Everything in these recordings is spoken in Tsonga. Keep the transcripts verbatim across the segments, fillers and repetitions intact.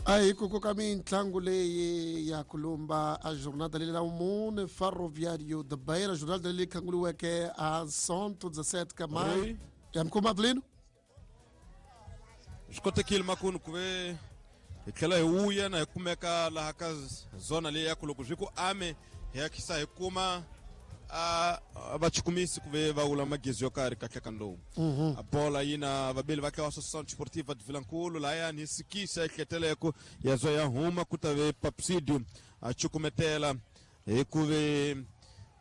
A hi ku koka mitlangu leyi ya kulumba a jornada leyi la mune Ferroviário de Beira, jornada leyi khanguliweke a Santo dezessete ka maio. Ya mukoma Avelino? Swi kotekile makunu ku ve hi tlhela hi vuya na hi kumeka laha ka zona leyi ya ku loko swi ku ame hi ya khisa hi kuma a vachukumisi ku ve va wula magezi yo karhi kahle ka lowu. A bola yi na vabeli va tlawa Associação Desportiva de Vilankulo lahayani hi sikisa ehleteleko ya zwa ya huma ku ta ve Papsidio a chukumetela hi ku ve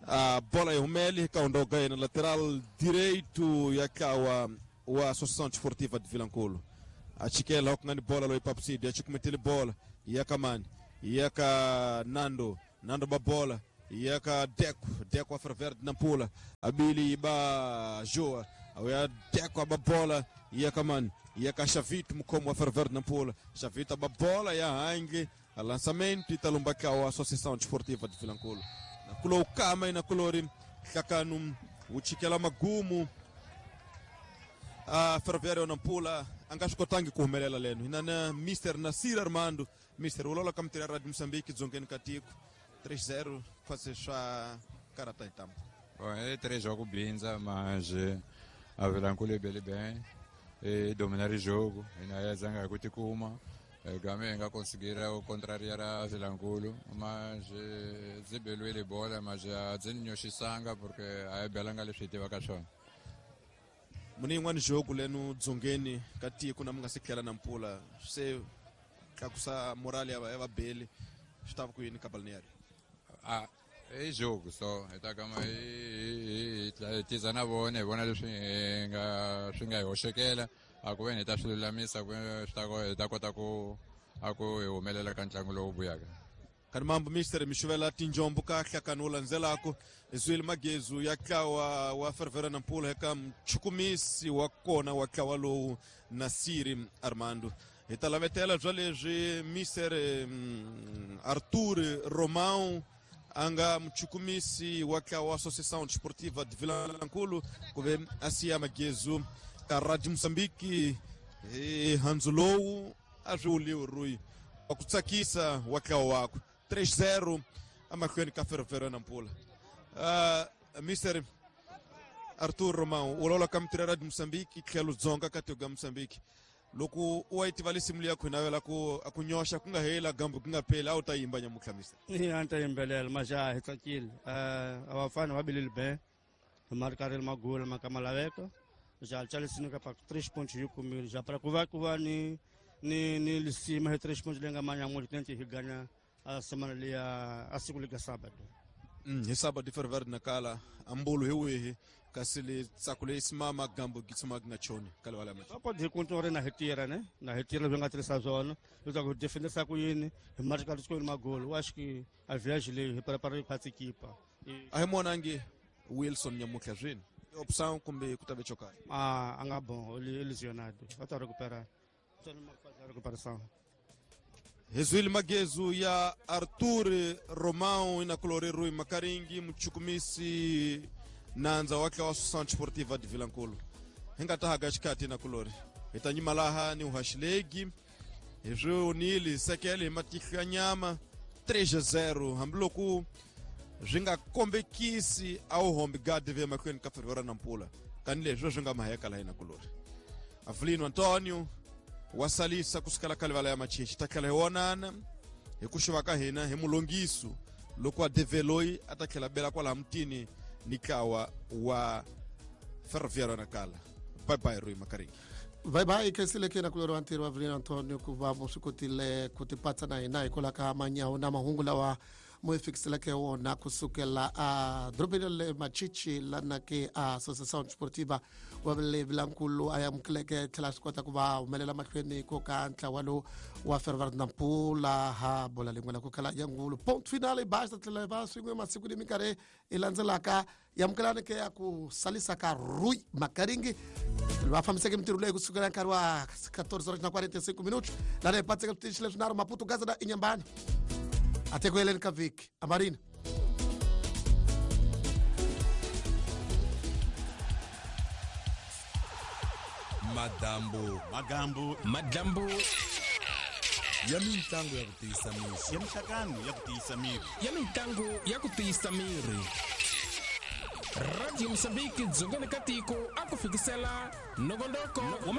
a bola yi humele ka hundoga yena lateral direito ya tlawa wa Associação Desportiva de Vilankulo. A chikela ku nga ni bola loyi Papsidio a chukumetele bola ya ka mani ya ka Nando Nando ba bola ya ka Deco Deco a Ferverde Nampula abili ba Joa ya Deco a bola ya ka mani ya ka Chavito mukhomo wa Ferverde Nampula Chavito a bola ya hangi a lançamento italumba ka wa Associação Desportiva de Vilankulo na kulo kama ina kulori hlakanu uchikela magumu a Ferroviário Nampula a nga swi kotangi ku humelela leno hina na Mister Nasir Armando Mister ulola ka mitirho ya Radio Moçambique dzongeni ka tiko três zero quase swa karata hi tambu. Bom, é três jogos brinza, mas a Vilankulo é bem bem e dominar o jogo e na zanga kuti kuma game nga conseguir contrariar a Vilankulo, mas zibelwele bola mas a zinyoxisanga porque a belanga leswi tivaka swona. Muni yin'wani jogo leno dzongeni ka tiko na mi nga se tlhela Nampula se tlakusa morale ya ya vabeli swi ta va ku yini ka balneário? Ah, i jogo só hi ta kama hi hi tiza na vona hi vona leswi hi nga swi nga hi hoxekela a ku ve ni hi ta swi lulamisa ku swi ta hi ta kota ku a ku hi humelela ka ntlangu lowu vuyaka. Kani mambo mister mi xuvela tinjombo ka hlakani wu landzelako zwile magezu ya tlawa wa Ferroviário Nampula eka mchukumisi wa kona wa tlawa lowu Nasiri Armando. Hi ta lavetela bya leswi Mister um, Arthur Romão a nga mchukumisi wa tlawa wa Associação Desportiva de Vilankulo ku ve a siya magezu ka Radio Moçambique hi handzu lowu a swi wuliwi rui wa ku tsakisa wa tlawa wakwe três zero emahlweni ka Ferroviário Nampula. Uh, Mister Arthur Romão u lawula ka mitirho ya Radio Moçambique tlhelo dzonga ka tiko ya Moçambique loko u wa yi tiva lisimu liya ku navela ku a ku nyoxa ku nga hela gambu ku nga pheli a wu ta yimba nyamutlha mister? A ni ta yimbelela majaha hi tsakile. A vafana va bilile be hi marikarile magula ma ka ma laveka ja chalisini ka pa três pontos hi kumile ja para ku va ku va ni ni ni lisima hi três pontos leyi nga manyamutlha tente hi ganya a semana liya a siku lika sábado. Mm, hi sábado Ferroviário Nacala ambulo hi wihi kasi le tsako leyi simama gambo gi tshama gi nga choni ka livala ya ma pode hi kuntori na hi tirha ne na hi tirha leswi nga tirhisa swona leswaku hi defendisa ku yini hi marika xikolweni magolo wa xiki a viage leyi hi prepara khwatsi kipa. A hi monangi Wilson nyamutlha swini opção kumbe ku ta ve chokarhi? A a nga bon lesionado va ta recuperar recuperação. Hezwile magezu ya Arthur Romão ina kulori Rui Makaringi mchukumisi nandza wa tlawa Associação Desportiva de Vilankulo. Hi nga ta haka xikati na kulori hi ta nyima laha ni uhaxilegi hi swi onile sekele hi matihlo ya nyama três a zero hambiloko swi nga kombekisi a wu hombi gadi ve emahlweni ka Ferroviário Nampula kani leswi swi nga maheka laha ina kulori. Avelino Antonio wa salisa kusukela ka livala ya Machichi ta tlhela hi vonana hi ku xuva ka hina hi mulongiso loko a develoyi a ta tlhela bela kwalaha mutini ni tlawa wa Ferroviário Nacala. Bye bye Rui Makaringi. Bye bye khensileke na kulori wa ntirho wa Avelino Antonio ku va swi kotile ku tipatsa na hina hikwalaho ka manyawu na mahungu lawa mo hi fikiseleke wona kusukela a dorobeni le Machichi lana ke a Associação Desportiva wa le Vilankulo a amukeleke tlhela swi kota ku va humelela mahlweni ko ka ntlawa lowu wa Ferroviário Nampula ha bola lin'wana ku khala ya ngulu ponto final basta tlhela va swin'we masiku ni minkarhi i landzelaka yamukelani ke ya ku salisa ka Rui Makaringi va fambiseke mintirho leyi kusukela nkarhi wa quatorze horas na quarenta e cinco minutos lana hi patseke switichi leswinharhu Maputo Gaza na Inhambane até ku heleni ka vhiki amarina. Madambu Magambu Madambu Ya mintlangu ya ku tiyisa miri. Ya minhlangano ya ku tiyisa miri. Ya mintlangu ya ku tiyisa miri. Radio Mozambique dzongeni ka tiko a ku fikisela nongonoko wa